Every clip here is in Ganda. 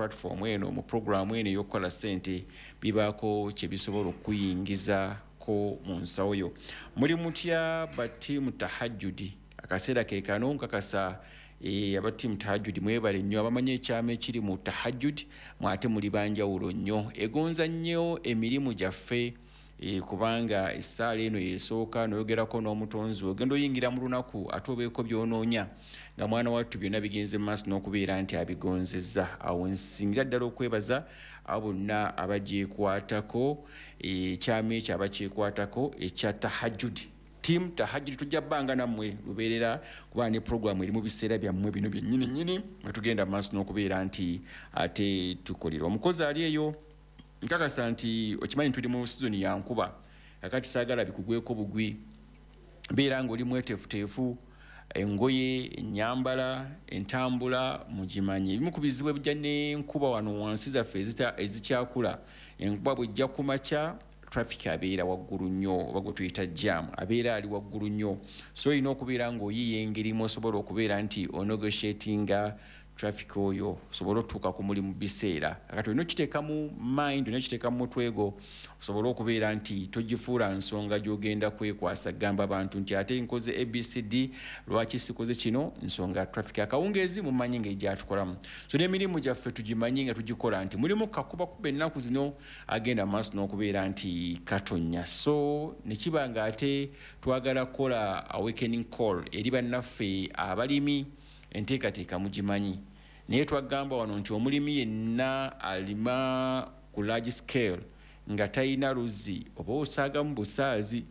platform eno, mu programu eno ey'okukola ssente, bibaako kye bisobola okuyingizako mu nsawo yo. Muli mutya ba team Tahajjudi? Akaseera ke kano nkakasa aba team Tahajjudi mwebale nnyo, abamanyi ekyama ekiri mu tahajjud, mwate muli banjawulo nnyo. Egonza nnyo emirimu gyaffe, kubanga essaala eno yesooka noyogerako n'omutonzi. Ogenda oyingira mu lunaku ate obeeko byonoonya nga mwana wattu byonna bigenze mu maaso n'okubeera nti abigonzezza. Awo nsingira ddala okwebaza abo bonna abagyekwatako, ekyama ekyo abakyekwatako ekya tahajjudi. Team Tahajjudi, tujja bbanga nammwe lubeerera, kuba ne programu eri mu biseera byammwe bino byennyini nnyini mwe tugenda mu maaso n'okubeera nti ate tukolera. Omukozi ali eyo, nkakasa nti okimanyi tuli mu sizoni ya nkuba. Kakati saagala bikugweko bugwi, beera nga oli mweteefuteefu, engoye, ennyambala, entambula mugimanyi. Ebimu ku bizibu ebijja n'enkuba wano wansi zaffe ezikyakula, enkuba bwejja ku makya, traffic abeera waggulu nnyo, oba gwe tuyita jam abeera ali waggulu nnyo. So olina okubeera ng'oyiiya engeri mwosobola okubeera nti onegotiatinga traffic oyo, osobole otuuka ku mulimu biseera. Kati olina okiteeka mu mind, olina okiteeka mu mutwe gwo, osobole okubeera nti togifuula nsonga gy'ogenda kwekwasa gamba abantu nti ate nkoze ABCD, lwaki sikoze kino, nsonga traffic. Akawungeezi mumanyi ngeri gyatukolamu. So n'emirimu gyaffe tugimanyi nga tugikola nti mulimu kakubakuba ennaku zino agenda maaso n'okubeera nti katonnya. So nekiba nga ate twagala kukola awakening call eri bannaffe abalimi. Enteekateeka mugimanyi, naye twagamba wano nti omulimi yenna alima ku large scale nga talina luzzi oba osaagamu busaazi,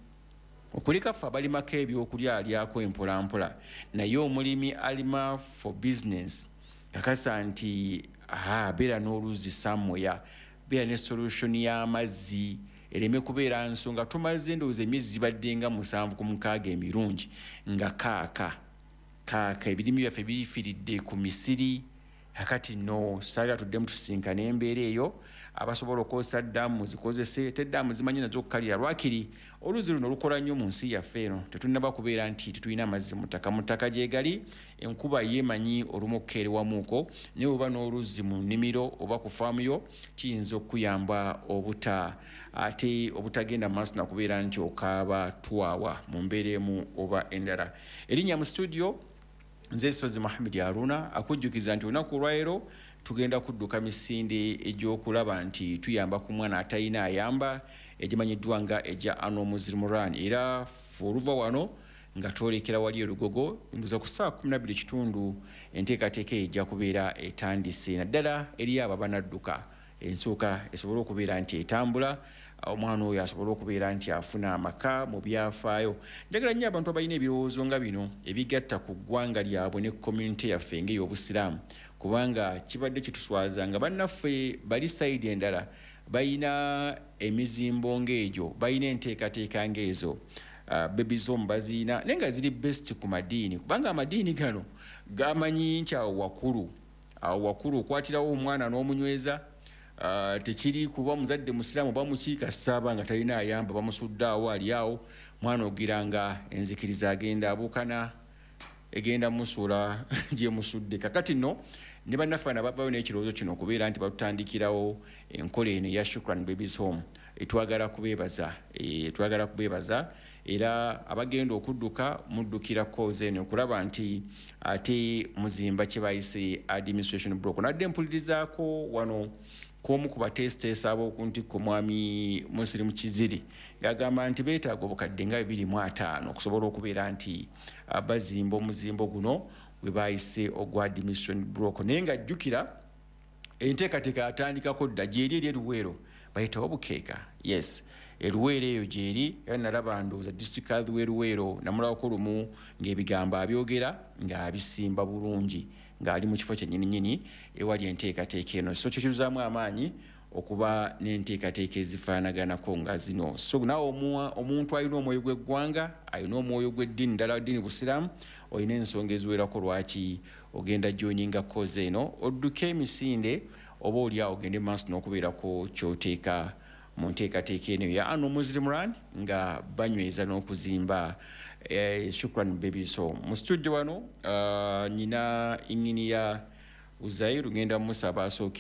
okuleka ffe abalimako ebyokulya alyako empolampola. Naye omulimi alima for business, kakasa nti beera n'oluzzi somewhere, beera ne solution y'amazzi ereme kubeera nsonga. Tumaze ndowooza emyezi gibadde nga 7 ku 6 emirungi nga kaaka kaaka, ebirimi byaffe bifiiridde ku misiri. Kakati no saagala tuddemu tusinkane embeera eyo. Abasobola okukozesa ddaamu muzikozese, te ddaamu zimanyi nazo okukalira. Lwakiri oluzzi luno lukola nnyo mu nsi yaffe eno. Tetunnaba kubeera nti tetulina amazzi mu ttaka, mu ttaka gyegali. Enkuba yeemanyi olumu okukeerewamuuko, naye oba n'oluzzi mu nnimiro oba ku faamu yo kiyinza okukuyamba obuta ate obutagenda mu maaso nakubeera nti okaaba twawa mu mbeera emu oba endala. Erinnya mu studio nze Sozi Muhammad Aruna, akujjukiza nti olunaku olwaleero tugenda kudduka misinde egy'okulaba nti tuyamba ku mwana atalina ayamba, egimanyiddwa nga egya Annual Muslim Run. Era ffe oluva wano nga twolekera wali erugogo nduza ku ssaawa 12 kitundu, enteekateeka eyo ejja kubeera etandise, naddala eri abo abanadduka ensooka esobole okubeera nti etambula, omwana oyo asobole okubeera nti afuna amaka mu byafaayo. Njagala nnyo abantu abalina ebirowoozo nga bino ebigatta ku ggwanga lyabwe ne community yaffe ng'ey'obusiraamu, kubanga kibadde kituswaza nga bannaffe bali side endala balina emizimbo ng'egyo, balina enteekateeka ng'ezo, babies home baziina, naye nga ziri best ku madiini, kubanga amadiini gano gamanyi nti awo wakulu, awo wakulu okwatirawo omwana n'omunyweza. Tekiri kuba muzadde musiraamu oba mukiika saaba nga talina ayamba, bamusudde awo ali awo mwana, ogira nga enzikiriza agenda abuukana, egenda musuula gyemusudde. Kakati nno ne bannaffe bano abavayo n'ekirowoozo kino okubeera nti batutandikirawo enkola eno eya Shukran Babies Home, twagala kubeebaza, twagala kubeebaza. Era abagenda okudduka muddukira cause eno okulaba nti ate muzimba kye bayise administration block. Nadde mpulirizaako wano kwomu ku bateesiteesi ab'oku ntikko, mwami Musirimu Kiziri, ng'agamba nti beetaaga obukadde nga 250 okusobola okubeera nti bazimba omuzimbo guno gwe bayise ogwa administration block. Naye nga jjukira enteekateeka yatandikako dda, gyeri eri eruweero bayitawo bukeeka. Yes, eruweero eyo gyeri. Era nalaba ndowooza district health w'eruweero namulabako lumu ng'ebigambo abyogera ng'abisimba bulungi, ng'ali mu kifo kyennyininyini ewali enteekateeka eno. So kikiruzaamu amaanyi okuba n'enteekateeka ezifaanaganako nga zino. So naawe omuntu alina omwoyo gw'eggwanga, alina omwoyo gw'eddiini ddala ddiini busiraamu, olina ensonga eziwerako lwaki ogenda joininga cause eno, odduke emisinde, oba oliawo ogende maaso n'okubeerako kyoteeka mu nteekateeka eno ya Annual Muslim Run nga banyweza n'okuzimba Shukran Babies Home. Mu studio wano nyina inginiya Uzairu, ngenda musaba asooke.